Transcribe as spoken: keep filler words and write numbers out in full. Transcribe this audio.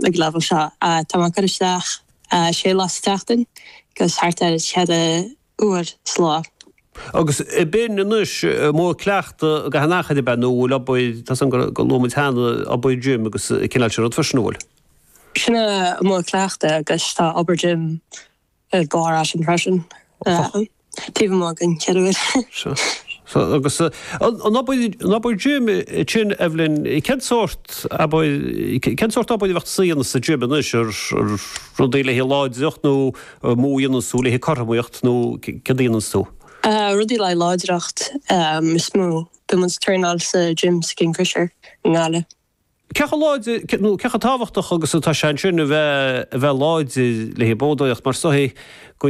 ag level seo. Tá mé ag cur isteach sé lá sa tseachtain agus thart ar cheithre uair sa lá. Agus b'in anois modh cleachta gach aon achar ab ea nó bhfuil obair, tá a fhios agam gur luaigh muid cheana obair gym agus cineál sin rud freisin, an bhfuil? Sin an modh cleachta agus tá obair gym ag gabháil as sin freisin. Taobh amuigh den cheithre uair. Sea. Agus an obair, an obair gym sin, Evelyn, cén sórt obair, cén sórt obair a bheadh tusa a dhéanamh sa gym anois, ar rudaí le haghaidh láidreacht nó modh a dhéananns tú le haghaidh cothromaíocht nó céard a dhéananns tú? Rudaí le haghaidh láidreacht is mó. Bíonn muid ag traenáil sa gym sa Kingfisher i nGaillimh. Cé chomh láidir, nó cé chomh tábhachtach agus atá sé ansin a bheith, a bheith láidir le haghaidh boghdóireacht mar is dóigh go